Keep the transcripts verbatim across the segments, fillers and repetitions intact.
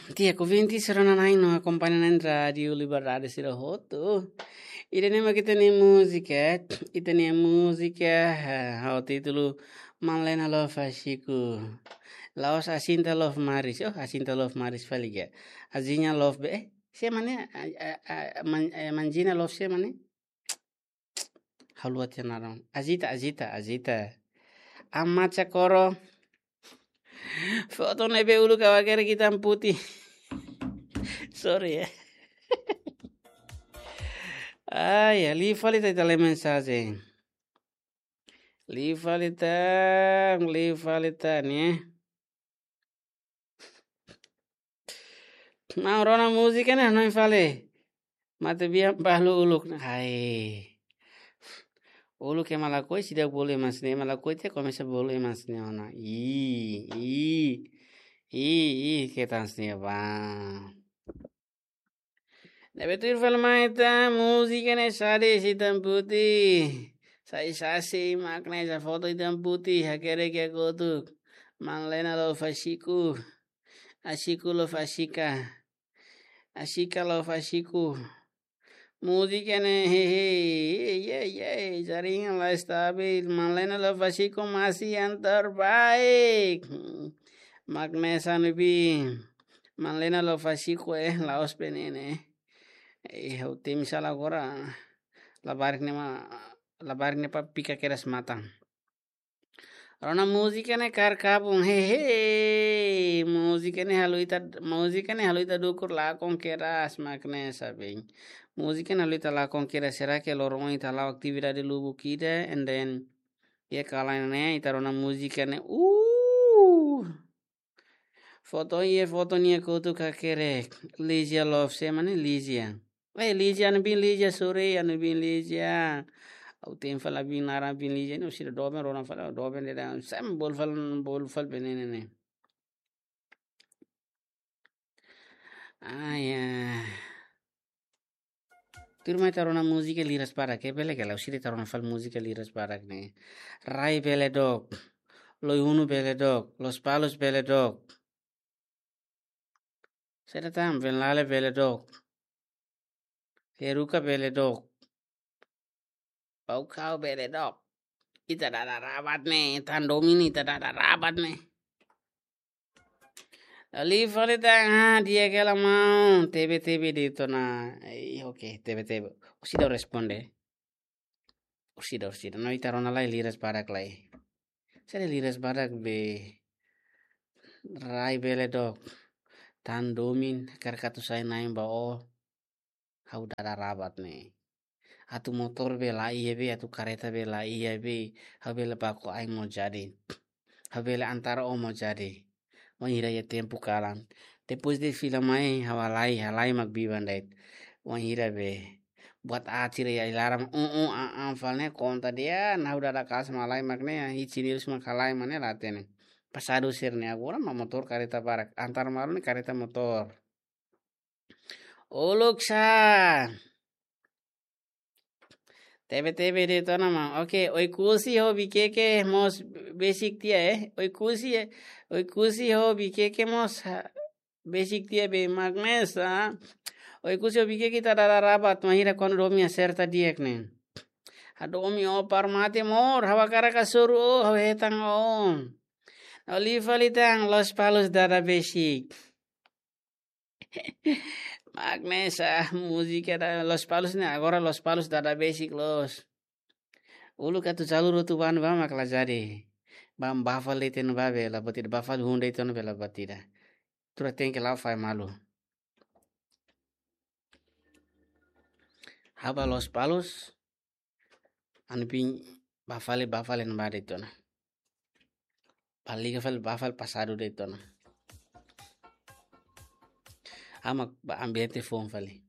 Di'ak, ouvintes rona-na'in no akompaña-na'in Rádiu Liberdade sira hotu. Ida-ne'e mak ita-nia múzika, ita-nia múzika, eh, ho títulu Manlena Love Asiko. La'ós Asinta Love Maris, oh, Asinta Love Maris fali ka. Azinha Love be, eh, sé mak ne'e, a, a, a, man, eh, Manjina Love sé mak ne'e. Haluha tiha naran. Azita, Azita, Azita. Amat Cakoro. Foto ne'ebé uluk ha'u hakerek hitam-putih. Sorry ya. Ai, ya, liu fali ita, ita lee mensajen. Liu fali ita, liu fali ita ne'e. Maun, rona múzika ne'e hanoin fali. Matebian balu uluk ne'e. Hai. Uluk ema lakohi seidauk bolu ema hanesan ne'e, ema lakohi tiha komesa bolu ema hanesan ne'e ona. Ih, ih. Ih, ih, ketan hanesan ne'e ba. Ne'ebé tuir fali mai ita, múzika ne'e xadis hitam-putih. Sai sasi mak ne'e, sai foto hitam-putih, hakerek iha kotuk. Manlena Love Asiko. Asiko Love Asika. Asika Love Asiko. Múzika ne'e, hehe, ye, ye, ye, jaringan la estabil. Manlena Love Asiko masih yang terbaik. Mak ne'e hanesan ne'ebé. Manlena Love Asiko, eh, la'ós be ne'e ne'e. Eh, ha'u temi sala agora. Labarik ne'e mak, labarik ne'e pa pika kedas matan. Rona múzika ne'e kaer kabun, hehe. Múzika ne'e halo ita, múzika ne'e halo ita dukur lakon kedas mak ne'e hanesan ne'e. Múzika ne'e halo ita lakon kedas, será que loron ita la'o atividade lubuk ida, and then, iha kalan ne'e, ita rona múzika ne'e, uh. Foto iha, foto nia kotuk hakerek. Lizia Love, sé mak ne'e Lizia. Eh, Lizia, Anubin Lizia, sorry, Anubin Lizia. Ha'u temi fali Anubin naran, Anubin Lizia ne'e, orsida doben, rona fali, doben de'it, sem bolu fali, bolu fali be ne'e ne'e. Ah, ya. Tuirmai ita rona múzika liras barak, eh, bele ka lae, orsida ita rona fali múzika liras barak ne'e. Rai bele dook, Loi Hunu bele dook, Lospalos bele dook. Saida tan, Venlale bele dook. Heruka bele dook. Baucau bele dook. Ita dada rabat ne'e, tan domin ita dada rabat ne'e. Liu fali tan, ah, di'ak hela maun, tebe-tebe de'it ona. Eh, oke, tebe-tebe. Orsida responde. Orsida, orsida. No, ita rona lai liras barak lai. Saida liras barak be. Rai bele dook. Tan domin, hakarak atu sai na'in ba ó. Ha'u dada rabat ne'e. Atu motór be laiha be, atu kareta be laiha be, ha'u bele baku ain mós jadi. Ha'u bele antar ó mós jadi. Wainhira iha tempu kalan. Depois de fila mai, ha'u halai, halai mak biban de'it. Wainhira be. Buat aat sira iha ai-laran, un, un, an, an, fali ne'e konta dehan, ha'u dada kaas mak halai mak ne'e, hiit sini-lus mak halai mak ne'e la hatene. Pasadu sira-ne'e agora mak motór kareta barak. Antar malu ne'e kareta motór. Uluk sá. Tebe-tebe de'it ona maun. Oke, Oekusi ho Bikeke mós besik tiha, eh. Oekusi, eh. Oekusi ho Bikeke mós, ha, besik tiha be mak ne'e hanesan. Oekusi ho Bikeke ita dada rabat, wainhira kuandu domin aserta di'ak ne'e. Hadomi ó para mate mós, ha'u hakarak hasoru ó, ha'u hetan ó. No liu fali tan, Lospalos dada besik. Mak ne'e hanesan múzika da Lospalos ne'e, agora Lospalos dada besik loos. Uluk atu jalur hotu ba ne'ebá mak la jadi. Ba, ba fali de'it ona ba be la buat ida, ba fali hun de'it ona be la buat ida. Tuir tenke la'o fai malu. Ha'u ba Lospalos. Anubin ba fali, ba fali ne'ebá de'it ona. Ba liga fali, ba fali pasadu de'it ona. Ha'u mak ba ambiente foun fali.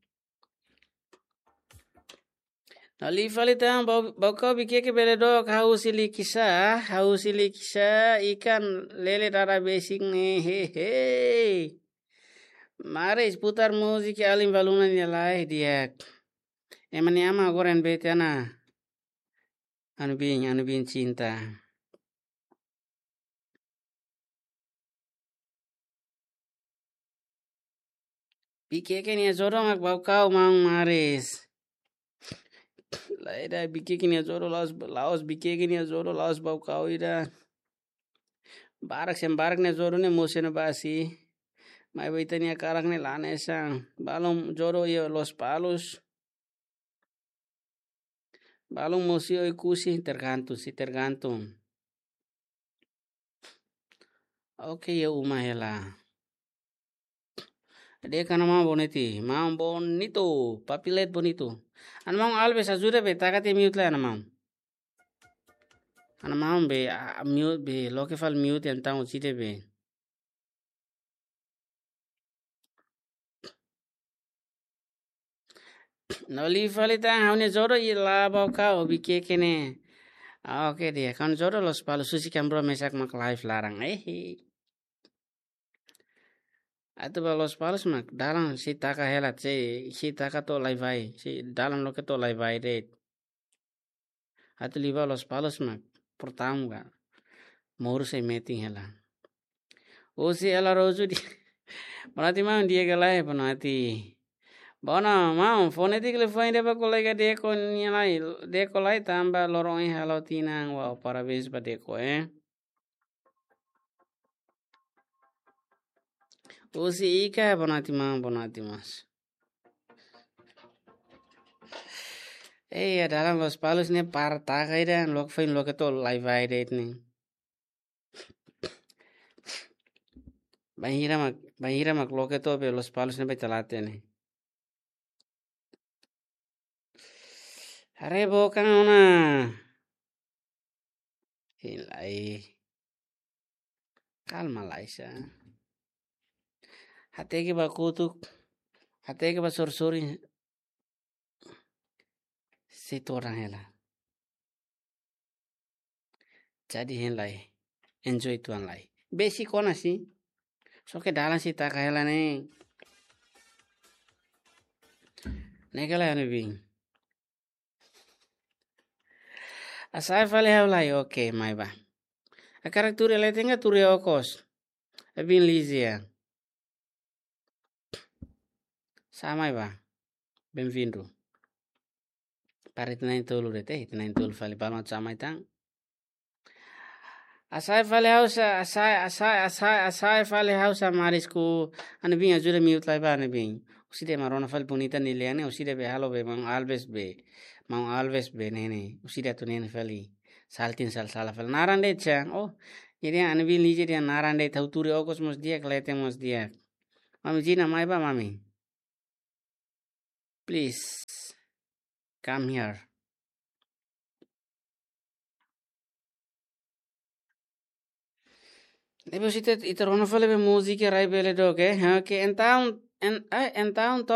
No liu fali tan, Bau-, Baucau Bikeke bele dook, ha'u husi Likisá, ha'u husi Likisá, ikan lele dada besik ne'e, hehe. Mari putar múzika alin baluna nia lai di'ak. Ema nia ama agora ne'ebé tiha ona. Anubin, Anubin Cinta. Bikeke nia jodoh mak Baucau, maun Maris. Lae, ida Bikeke nia jodoh la'ós, la'ós Bikeke nia jodoh la'ós Baucau ida. Barak sem barak nia jodoh ne'e mosu ona ba si. Maibé ita-nia hakarak ne'e la hanesan. Balun jodoh iha Lospalos. Balun mosu iha Oekusi, tergantung, sei tergantung. Oke, iha uma hela. De'it ka, maun Bonito, maun Bonito, papi leet Bonito. Ha'u-nia maun Alves, ajuda be, taka tiha mute lai, ha'u-nia maun. Ha'u-nia maun be, ah, mute be, loke fali mute, entaun husik de'it be. No liu fali tan, ha'u-nia jodoh iha la Baucau, Bikeke ne'e. Ah, oke, di'ak, ha'u-nia jodoh Lospalos, husik iha Ambro mesak mak live laran. Eh, atu ba Lospalos mak, dalan sei taka hela, sei, sei taka to'o lai-vai, sei dalan loke to'o lai-vai de'it. Atu liu ba Lospalos mak, portaun ka. Moru sei metin hela. Husi Ela Rosu di. Bonoati maun, di'ak ka lae, bonoati. Bono, maun, fó netik liafuan ida ba kolega Deko nia lai, Deko lai tanba loron ohin halo tinan, wow, parabéns ba Deko, eh. Husi Ika, bonoati maun, bonoati mós. Eh, iha dalan Lospalos ne'e para taka ida, loke foin loke to'o lai-vai de'it ne'e. Bainhira mak, bainhira mak loke to'o be Lospalos ne'e ba Ita-Late ne'e. Haree book ona. Hein lai. Kalma lai sa. Hateke ba kotuk. Hateke ba sorin-sorin. Sei todan hela. Jadi hein lai. Enjoy uitoan lai. Besik ona si. Só ke dalan sei taka hela ne'e. Ne'e ka lae, ha'u-nia biin. Hasa'e fali ha'u lai, oke, mai bá. Hakarak tuur iha leten ka tuur iha okos? Ha'u-nia biin Lizia. Sá mai bá. Bem-vindo. Para ita na'in-tolu de'it, ita na'in-tolu fali, balun atu sá mai tan. Hasa'e fali ha'u sá, hasa'e, hasa'e, hasa'e, hasa'e fali ha'u sá, Maris, ku ha'u-nia biin, ajuda mute lai bá, ha'u-nia biin. Husik de'it mak rona fali bonita nia lian ne'e, husik de'it be halo be, maun Alves be. Maun Alves be ne'e ne'e, husik de'it atu ne'e ne'e fali. Saltin sal sala fali. Naran de'it sa, oh. Jadi ha'u-nia biin Lizia dehan naran de'it, ha'u tuur iha okos mós di'ak, leten mós di'ak. Mami Gina, mai bá, mami. Please, come here. Depois ita, ita rona fali be múzika rai bele dook, eh? Oke, entaun, en-, eh, entaun top